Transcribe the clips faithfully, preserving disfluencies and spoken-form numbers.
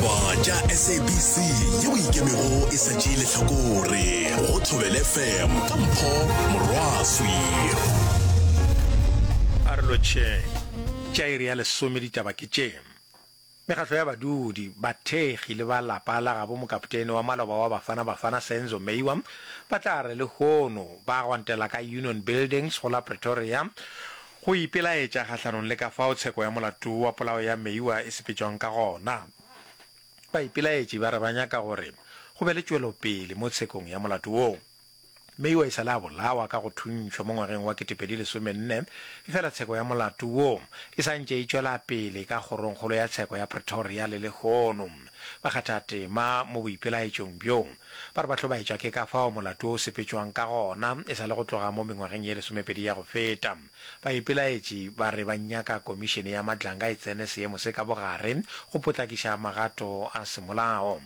Ditaba tša S A B C yeo ikemego e sa tšee lehlakore go Thobela F M ka Mpho Morwaswi. A re lotšheng. Tša iri ya lesome ditaba ke tše. Mekgatlo ya badudi, bathekgi le ba lapa la gabo mokapotene wa maloba wa Bafana Bafana Senzo Meyiwa ba tla re lehono ba gwantela ka Union Buildings go la Pretoria go ipelaetša kgahlanong le ka fao tsheko ya molato wa polao ya Meyiwa e sepetšwang ka gona. Baipelaetši ba re ba nyaka gore go be le tšwelopele mo tshekong ya molato woo. Meyiwa e sa le a bolawa ka go thuntšhwa mo ngwageng wa ketepedi lesomenne, efela tsheko ya molato wo e sa ntše e tšwela pele ka Kgorongkgolo ya Tsheko ya Pretoria le lehono. Bakgathatema mo boipelaetšong bjo ba re ba hlobaetšwa ke ka fao molato wo o sepetšwang ka gona e sa le go tloga mo mengwageng ye lesomepedi ya go feta. Baipelaetši ba re ba nyaka Komišene ya Madlanga e tsene seemo se ka bogare go potlakiša magato a semolao.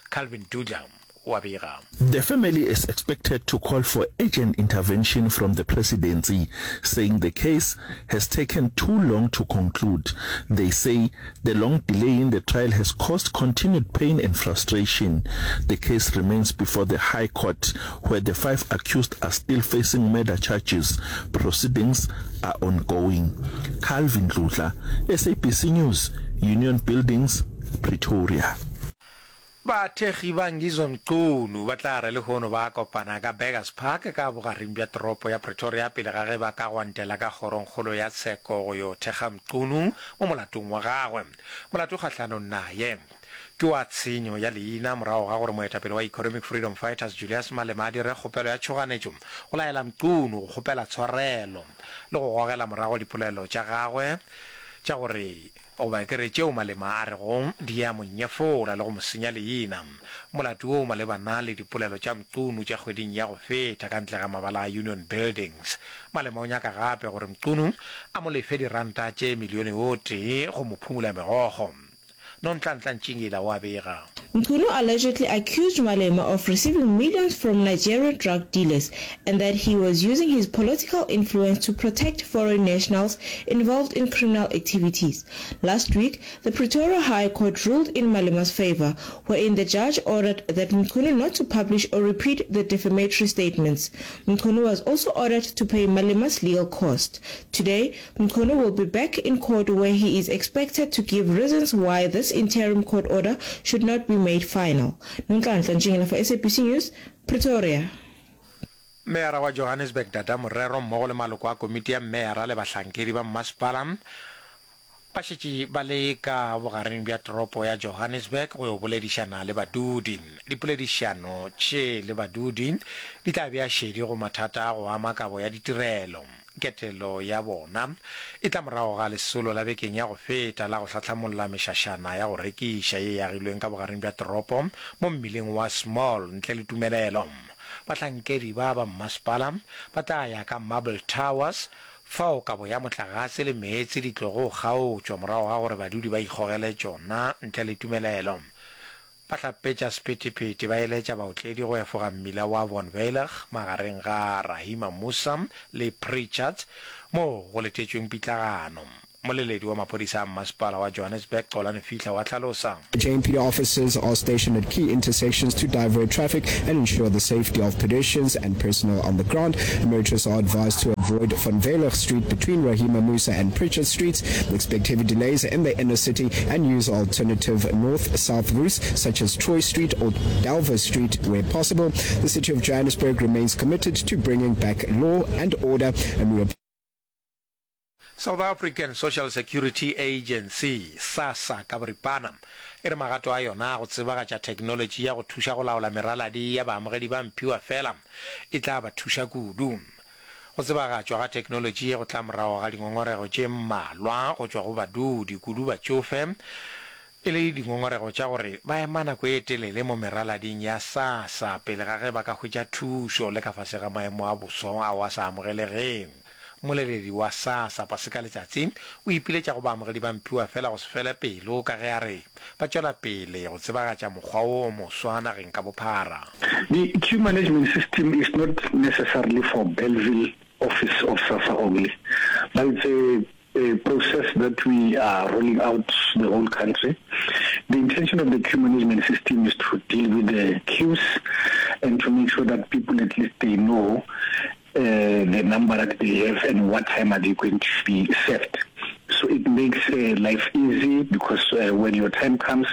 Calvin Dudla o a bega. The family is expected to call for urgent intervention from the presidency, saying the case has taken too long to conclude. They say the long delay in the trial has caused continued pain and frustration. The case remains before the High Court, where the five accused are still facing murder charges. Proceedings are ongoing. Calvin Dludla, S A B C News, Union Buildings, Pretoria. Bathekgi ba Ngizwe Mchunu ba tla re lehono ba kopana ka Burgers Park ka bogareng bja toropo ya Pretoria pele ga ge ba ka gwantela ka kgorongkgolo ya tsheko go yo thekga Mchunu mo molatong wa gagwe. Molato kgahlanong naye ke wa tshenyo ya leina morago ga gore moetapele wa Economic Freedom Fighters Julius Malema a dire kgopelo ya tšhoganetšo go laela Mchunu go kgopela tshwarelo le go gogela morago dipolelo tša gagwe tša gore goba ke re tšeo Malema a rego di a mo nyefola le go mo senya leina. Molato wo o malebana le dipolelo tša Mchunu tša kgweding ya go feta ka ntle ga mabala a Union Buildings. Malema o nyaka gape gore Mchunu a mo lefe diranta tše milione o tee go mo phumula megokgo. Nonhlanhla Ntšingila o a bega. Mchunu allegedly accused Malema of receiving millions from Nigerian drug dealers and that he was using his political influence to protect foreign nationals involved in criminal activities. Last week, the Pretoria High Court ruled in Malema's favor, wherein the judge ordered that Mchunu not to publish or repeat the defamatory statements. Mchunu was also ordered to pay Malema's legal cost. Today, Mchunu will be back in court, where he is expected to give reasons why this interim court order should not be made final. Nonhlanhla Ntshingila for S A B C News, Pretoria. Meyara wa Johannesburg Dada Morero mmogo le maloko a komiti ya meyara le bahlankedi ba mmasepala ba šetše ba le ka bogareng bja toropo ya Johannesburg go yo boledišana le badudi. Dipoledišano tše le badudi di tla bea šedi go mathata a go ama kabo ya ditirelo. Ketelo ya bona e tla morago ga lesolo la bekeng ya go feta la go hlahlamolla mešašana ya go rekiša ye e agilweng ka bogareng bja toropo mo mmileng wa Small ntle le tumelelo. Bahlankedi ba ba mmasepala ba tla ya ka Marble Towers fao kabo ya motlagase le meetse di tlogo kgaotšwa morago ga gore badudi ba ikgogele tšona ntle le tumelelo. Bahlapetša sephethephethe ba eletša baotledi go efoga mmila wa Von Veilig magareng ga Rahima Moosa le Pritchards moo go letetšweng pitlagano. Moleledi wa maphodisa a mmasepala wa Johannesburg Xolani Fihla wa hlalosa. J M P D officers are stationed at key intersections to divert traffic and ensure the safety of pedestrians and personnel on the ground. Motorists are advised to avoid Van Veilig Street between Rahima Moosa and Pritchard Streets, expect heavy delays in the inner city and use alternative north-south routes such as Troy Street or Delver Street where possible. The city of Johannesburg remains committed to bringing back law and order, and we South African Social Security Agency, SASSA, ka boripana, e re magato a yona a go tsebagatša theknolotši ya go thuša go laola meraladi ya baamogedi ba mphiwafela e tla ba thuša kudu. Go tsebagatšwa ga theknolotši ye go tla morago ga dingongorego tše mmalwa go tšwa go badudi, kudu batšofe, e le dingongorego tša gore ba ema nako e telele mo meralading ya SASSA pele ga ge ba ka hwetša thušo le ka fase ga maemo a boso ao a sa amogelegeng. Mmoleledi wa SASSA, Paseka Letsatsi, o ipiletša go baamogedi ba mphiwafela go se fele pelo ka ge a re ba tšwela pele go tsebagatša mokgwa wo o moswa nageng ka bophara. The queue management system is not necessarily for Bellville office of SASSA only, but it's a a process that we are rolling out the whole country. The intention of the queue management system is to deal with the queues and to make sure that people at least they know uh, the number that they have and what time are they going to be served. So it makes uh, life easy because uh, when your time comes,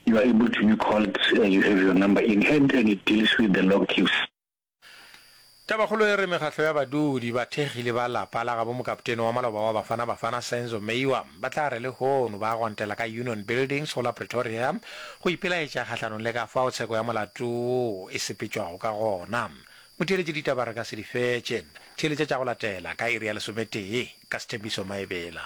you are able to be called, uh, you have your number in hand and it deals with the long queues. Tabakgolo e re mekgatlo ya badudi, bathekgi le ba lapa la gabo mokaptene wa maloba wa Bafana Bafana Senzo Meyiwa ba tla re lehono ba gwantela ka Union Buildings go la Pretoria go ipelaetša kgahlanong le ka fao tsheko ya molato wo e sepetšwago ka gona. Motheeletši ditaba re ka se di fetše. Theeletša tša go latela ka iri ya lesometee ka Sthembiso Maebela.